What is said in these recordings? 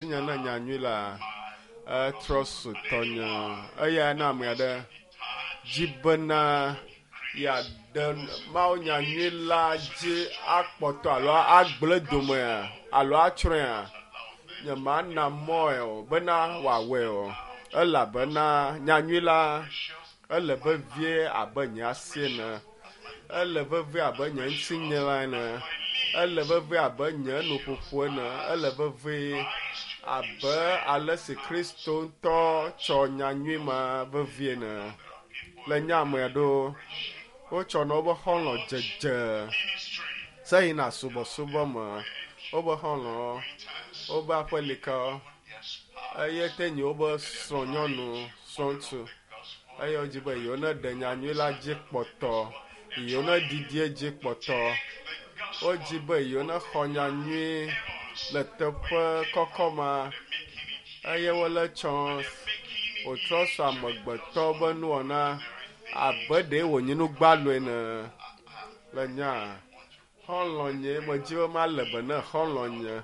Nye ne nyanyui la etrɔ su tɔnye eya na ame aɖe dzi bena yeaɖe Mawu nyanyui la dzi akpɔtɔ alo agblẽ domea alo atsrɔ̃ea, nyemana mɔe o bena wòawɔe o elabena nyanyui la ele vevie abe nye asi ene, ele vevie abe nye ŋutinye la ene, ele vevie abe nye nuƒoƒo ene, ele vevie abe ale si Kristo ŋutɔ tsɔ nyanyui ma vevie ene. Le nye ame aɖewo wotsɔna woƒe xɔlɔ̃ dzedze se yina subɔsubɔ me, woƒe xɔlɔ̃wo, woƒe aƒelikawo eye te nyi woƒe srɔ̃nyɔnu, srɔ̃ŋutsu eye wodzi be yewo neɖe nyanyui la dzi kpɔtɔ, yewo neɖiɖi edzi kpɔtɔ. Wodzi be yewo nexɔ nyanyui le teƒe kɔkɔ ma eye wole tsɔ wòtrɔ su amegbetɔ ƒe nuwɔna abe ɖe wònye nu gbalo ene le nya xɔlɔ̃nye medzi be male be ne xɔlɔ̃nye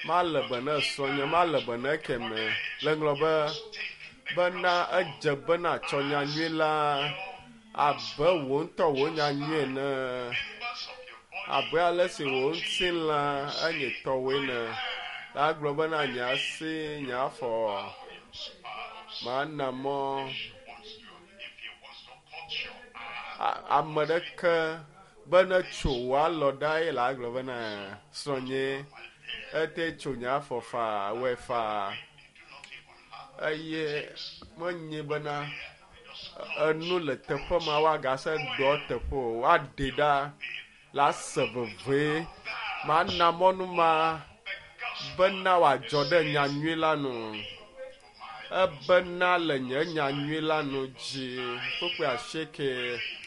male be ne srɔ̃nye male be ne ekemɛ le ŋlɔ be bena edze bena tsɔ nyanyui la abe wò ŋutɔ wò nyanyui ene abe ale si wò ŋutilã enye tɔwòe ene la gblɔ bena nye asi nye afɔ mana mɔ ame ɖeke be ne tso wò alɔ ɖa ye la gblɔ bena srɔ̃nye ete tso nye afɔ faa wɔe faa eye menye bena enu le teƒe ma woagase ɖɔ teƒe o woaɖe ɖa la se veve mana mɔnu ma bena wòadzɔ ɖe nyanyui la nu ebena le nye nyanyui la nu dzi kpukpui asieke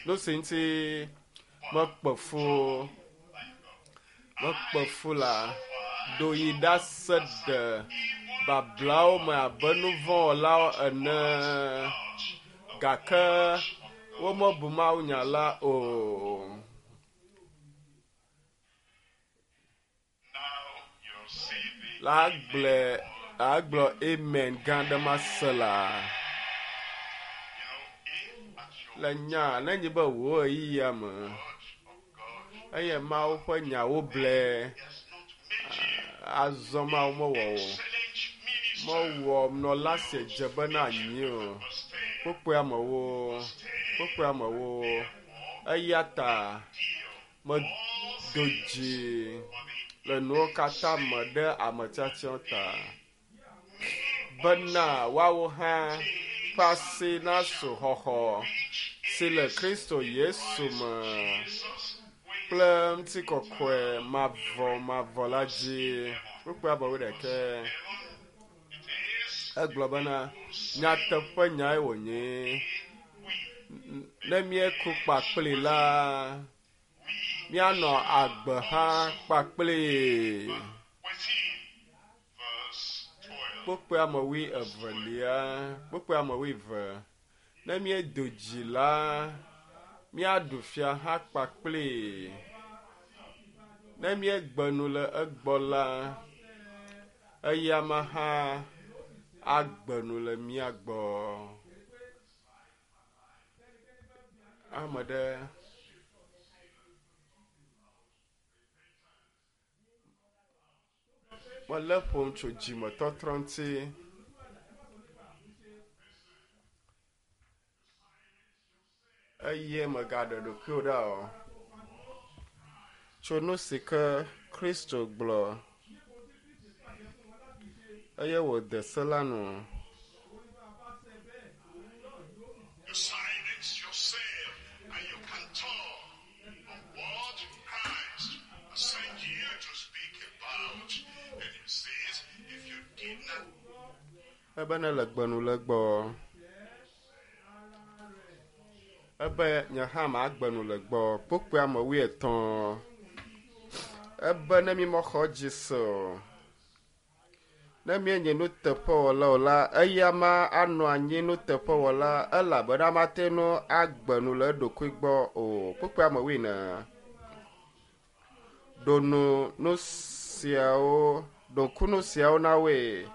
nu si ŋuti mekpe fu mekpe fu la ɖo yi ɖase ɖe bablawo me abe nu vɔ̃ wɔlawo ene gake womebu mawunya la o. La gblɔe agblɔ amen gã ɖe ma se la. Le nya ne nyi be wò ɣeyiɣia me eye Mawu ƒe nyawo ble azɔ Mawu mewɔ o. Mewɔ nɔla si dze bena anyi o. Kpukpui amewo, kpukpui amewo. Eya ta medo dzi le nuwo katã me ɖe ame tiatiawo ta bena woawo hã ƒe asi nasu xɔxɔ si le Kristo Yesu me kple ŋutikɔkɔe mavɔmavɔ la dzi. Kpukpui abe wuiɖekɛ. Egblɔ bena nyateƒe nyae wònye. Ne míeku kpakpli la, míanɔ agbe hã kpakpli. Kpukpui ame wui evelia, kpukpui ame wui eve. Ne míedo dzi la, míaɖu fia hã kpakpli. Ne míegbe nu le egbɔ la, eyama hã agbe nu le mía gbɔ. Ame ɖe Mele ƒom tso dzimetɔtrɔ ŋuti. Eye mègaɖe ɖokuiwò ɖa o. Tso nu si ke Kristo gblɔ eye wòde se la nu. You silence yourself and you can talk on what Christ sent you to speak about. And he says, if you did not Ebe ne le gbe nu le gbɔ. Ebe nye hã magbe nu le gbɔ. Kpukpui ame wuietɔ̃. Ebe ne mi mexɔ dzi se o. Ne míenye nuteƒewɔla o la, eyama anɔ anyi nuteƒewɔla elabena mate ŋu agbe nu le eɖokui gbɔ o. Kpukpui ame wuiene. Ɖo nu nu siawo, ɖo ŋku nu siawo na woe.